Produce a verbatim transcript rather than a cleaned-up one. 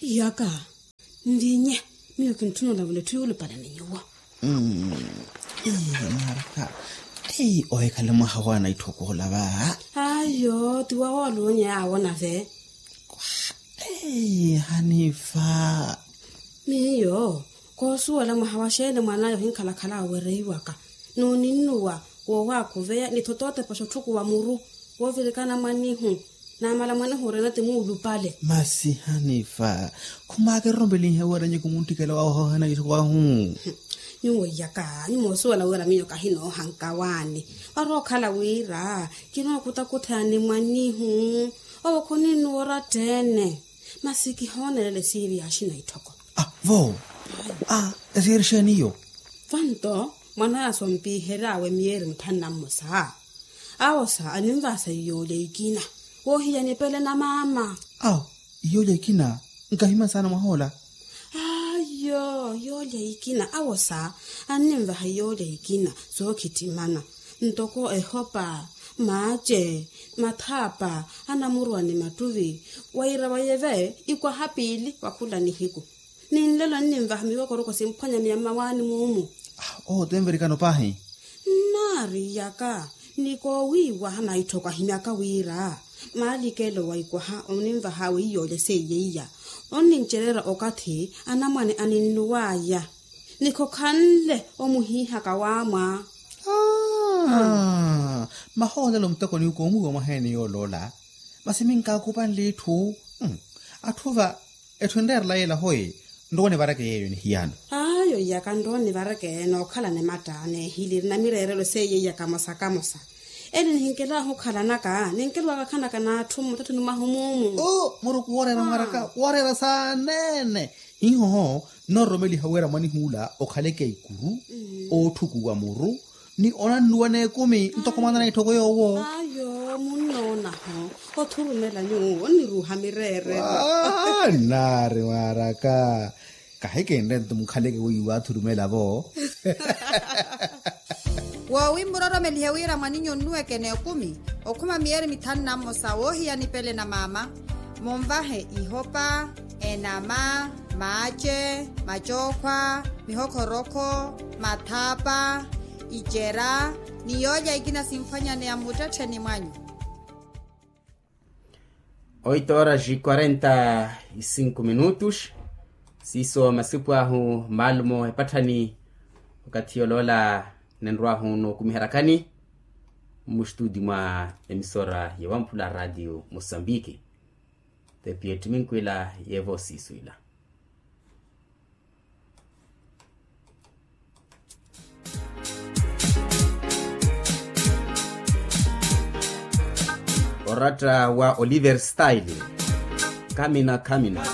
Iyaka, nlinye, miyo kintthuna olavula etthu yuulupale ni nyuwo. Mmm. Ii, mwaraka. Ei, ohikhale mwaha wa anaitthoko ola va. Ayo ti wawoolunya yaawo nave. Ei, hanifa. Miyo koosuwela mwaha wa xeeni mwan'aya ohinkhalakhala awereiwaka n'uninnuwa, woowakhuveya ni thotootepa xotthukhuwa muru, woovirikana mwanihu. Namala mwanehu orina ti muulupale. Masi hanifa, khumaakererompelinhe wira nyuwo khumuntthikhela wahohana itthu wahu. Nyuwo iyaka nyuwo osuwela wira miyo kahinoohanka waani. Warookhala wira kinookutakutha ni mwanihu. Owo khuninnuwa orattheene. Masi kihoonelela esiiri ya axina itthoko. Vo. Esiiri xeeni iyo? Vanto mwan'aya sompiheryawe miyeeri mitthanu na mmosa. Awosa aninvahasa iyoolya ikina woohiya nipele na maama. Awo iyoolya ikina nkahimani saana mwahoola. Ayo iyoolya ikina awosa anninvaha iyoolya ikina sookhittimana ntoko ehopa, maace, mathaapa, anamuruwa ni mattuvi. Wira wayeve ikwaha piili wa khula nihiku. Ni nlelo nninvaha miwokoroko simphwanyaneya mmawaani muumu. Oho otenverikano paahi. Nnaari iyaka ni koowiiwaha naitthoko ahimyaka wira maalikelo wa ikwaha oninvahawe iyoolya seiye iya onnincereera okathi anamwane aninnuwaya. Ni khokhanle omuhiihaka waamwa. Mahoolelo muteko ni ukoomuwiwa mwaheeni yooloola. Masi minkaakupanle itthu. Atthu va etthu enreerela yeela hoyi. Nrowa onivareke yeeyo nihiyano. Ayo iyaka nrowa onivareke nookhala ni matta neehiliri na mireerelo seiye iyaka mosa kamosa. Eli nihinkelaahu okhalanaka ninkeluwaka khanaka n'atthu mmuttettheni mwahu muumu. Muruku wooreera mwaraka wooreera saaneene. Hiihoho nnoororomeliha wira mwanihuula okhaleke ikuru, ootthukuwa muru, ni onannuwa n'ekumi ntoko mwaana na itthoko yoowo. Ayo munnoonaho othurumela nyuwo onniruuha mireerelo. Nnaari mwaraka. Kahikinre nto mukhaleke weiwa athurumela vo. Woowi mmuroromelihe wira mwaninyu onnuweke n'ekumi okhuma miyeeri mithanu na mmosa woohiya nipele na maama. Munvahe ihopa, enama, maace, macookhwa, mihokhorokho, mathaapa, icera, ni yoolya ikina simphwanyaneya mmuttettheni mwanyu. Oito horas e quarenta e cinco minutos. Siiso masipu ahu maalumo epatthani. Okathi yoloola ninrwaahu nookumiherakani mmustuti mwa emisora ya wamphula radio mosambiki. Tepi etthiminkwila yeevo siiswila. Oratta wa oliver style. Kamina kamina.